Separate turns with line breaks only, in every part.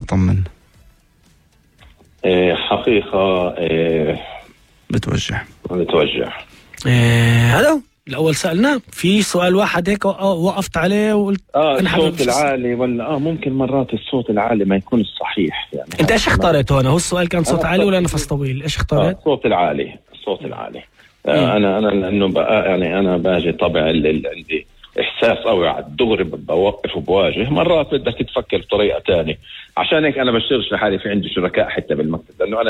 طمن.
حقيقة
بتوجع.
هلو الأول سألنا في سؤال واحد هيك وقفت عليه وقلت
الصوت العالي ولا ممكن مرات الصوت العالي ما يكون الصحيح يعني.
انت ايش اختارت هون؟ هو السؤال كان صوت عالي ولا نفس طويل؟ ايش اختارت؟
الصوت العالي. انا لانه بقى يعني انا باجي طبع عندي احساس قوي على الدغري بوقف وبواجه. مرات بدك تفكر بطريقه تانية. عشان هيك انا بشتغلش لحالي، في عندي شركاء حتى بالمكتب، لانه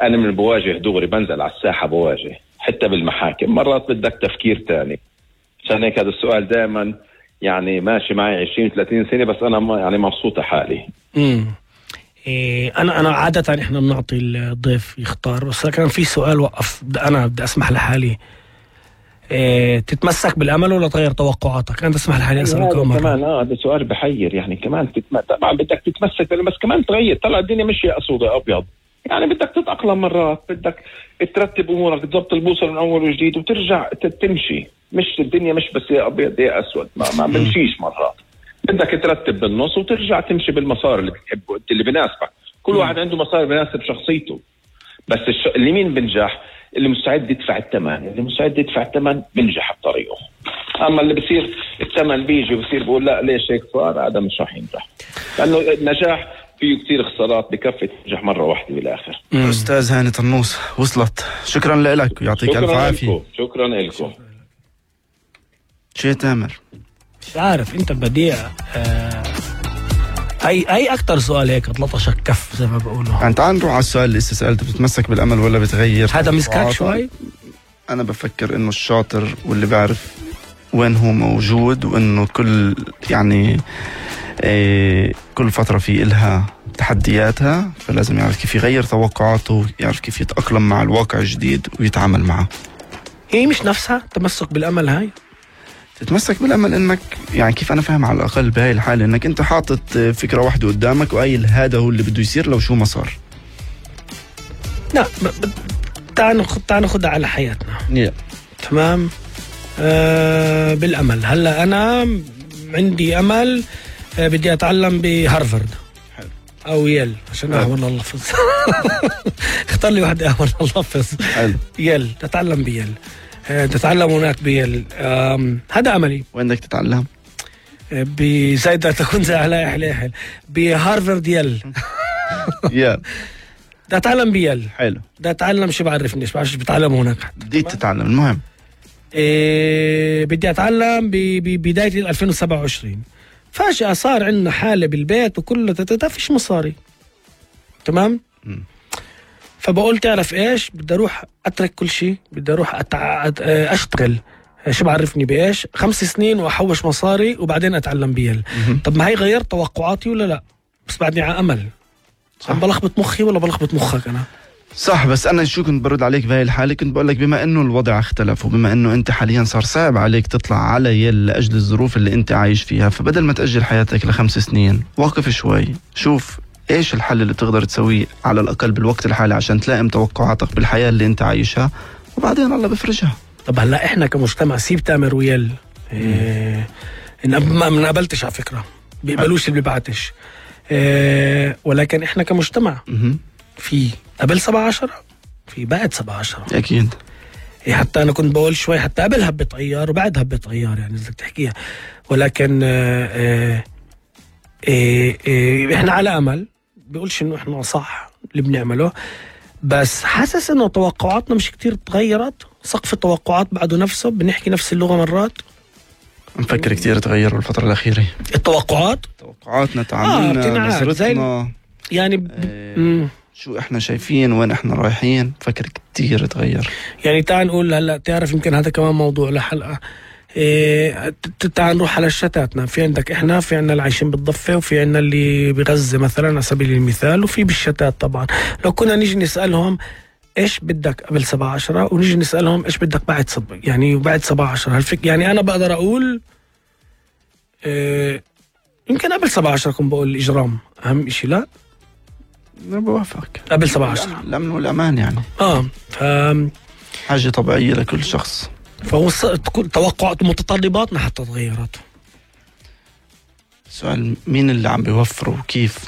انا من بواجه دغري، بنزل على الساحه بواجه حتى بالمحاكم. مرات بدك تفكير تاني. عشان هيك هذا السؤال دائما يعني ماشي معي 20-30 سنه، بس انا يعني مبسوطه حالي.
انا عاده احنا بنعطي الضيف يختار، بس كان في سؤال وقف انا بدي اسمح لحالي. تتمسك بالامل ولا تغير توقعاتك؟ انا اسمح لحالي اسالك
كمان هذا سؤال بحير يعني. كمان طبعا بدك تتمسك، بس كمان تغير. طلع الدنيا مش اسود ابيض يعني. بدك تتاقلم مرات، بدك ترتب امورك، تضبط البوصله من اول وجديد وترجع تمشي. مش الدنيا مش بس يا ابيض يا اسود، ما بمشيش مرات. بدك ترتب بالنص وترجع تمشي بالمسار اللي بتحبه انت، اللي بناسبك. كل واحد عنده مسار بناسب شخصيته. بس اللي مين بنجح؟ اللي مستعد يدفع الثمن. اللي مستعد يدفع الثمن بنجح بطريقه. اما اللي بصير الثمن بيجي وبصير بقول لا ليش هيك صار، هذا مش راح ينجح. لانه النجاح فيه كثير خسارات، بكفي تنجح مره واحده بالاخر.
استاذ هاني طنوس وصلت. شكرا لك ويعطيك الف عافيه.
شكرا لكم.
شيء تامر
مش عارف انت بديع. اي اكتر سؤال هيك اطلطشك كف زي ما بقولوا.
يعني تعال نروح على السؤال اللي لسه سألته، بتتمسك بالامل ولا بتغير؟
هذا مسكاك شوي.
انا بفكر انه الشاطر واللي بيعرف وين هو موجود، وانه كل يعني كل فترة في إلها تحدياتها، فلازم يعرف كيف يغير توقعاته، يعرف كيف يتأقلم مع الواقع الجديد ويتعامل معه.
هي مش نفسها تمسك بالامل. هاي
تتمسك بالامل انك يعني كيف انا فاهم على الاقل بهاي الحاله، انك انت حاطط فكره واحده قدامك وقايل هذا هو اللي بده يصير لو شو ما صار.
لا تعال ناخذها على حياتنا. تمام. بالامل. هلا انا عندي امل بدي اتعلم بهارفارد او يل عشان احاول اللفظ. اختار لي واحد احاول اللفظ. يل. تتعلم بيل. تتعلم هناك بيل. هذا أملي.
وين بدك تتعلم؟
بزايدة تكون زي حلاحل بهارفارد يل.
يل.
بدي أتعلم بيل.
حلو.
بدي أتعلم شو بعرفني، بعرفش بتعلم هناك.
بدي تتعلم. المهم
بدي أتعلم ببداية 2027. فجأة صار عندنا حالة بالبيت وكله فيش مصاري. تمام. فبقول تعرف ايش، بدي اروح اترك كل شيء، بدي اروح اشتغل شو بعرفني بايش 5 سنين واحوش مصاري وبعدين اتعلم بيل. طب ما هي غيرت توقعاتي ولا لا؟ بس بعدني على امل. عم بلخبط مخي ولا بلخبط مخك انا؟
صح. بس انا شو كنت برد عليك بهاي الحاله، كنت بقول لك بما انه الوضع اختلف وبما انه انت حاليا صار صعب عليك تطلع على يل لاجل الظروف اللي انت عايش فيها، فبدل ما تاجل حياتك ل5 سنين وقف شوي، شوف ايش الحل اللي تقدر تسويه على الاقل بالوقت الحالي عشان تلائم توقعاتك بالحياه اللي انت عايشها، وبعدين الله بفرجها.
طب هلا احنا كمجتمع سيب تامر ويل ما قبلتش على فكره، بيقبلوش اللي بيبعتش. ولكن احنا كمجتمع في قبل 17 في بعد 17
اكيد.
حتى انا كنت بقول شوي حتى قبل هبة عيار وبعد هبة عيار يعني بدك تحكيها. ولكن احنا على امل، بيقولش انه احنا صح اللي بنعمله، بس حاسس انه توقعاتنا مش كتير تغيرت. سقف التوقعات بعده نفسه، بنحكي نفس اللغة مرات.
نفكر كتير تغير بالفترة الأخيرة توقعاتنا، تعاملنا، نظرتنا يعني شو احنا شايفين، وين احنا رايحين، فكر كتير تغير.
يعني تعال نقول هلا، تعرف يمكن هذا كمان موضوع لحلقة. تعال نروح على شتاتنا. في عندك احنا، في عنا اللي عايشين بالضفة، وفي عنا اللي بغزة مثلا على سبيل المثال، وفي بالشتات. طبعا لو كنا نيجي نسألهم ايش بدك قبل 17 ونيجي نسألهم ايش بدك بعد يعني بعد 17 يعني انا بقدر اقول يمكن قبل 17 كنت بقول الإجرام أهم إشي. لا
أنا بوافقك.
قبل 17
الأمن والأمان يعني حاجة طبيعية لكل شخص.
فهو توقعات ومتطلباتنا حتى تغيرت.
سؤال مين اللي عم بيوفره وكيف؟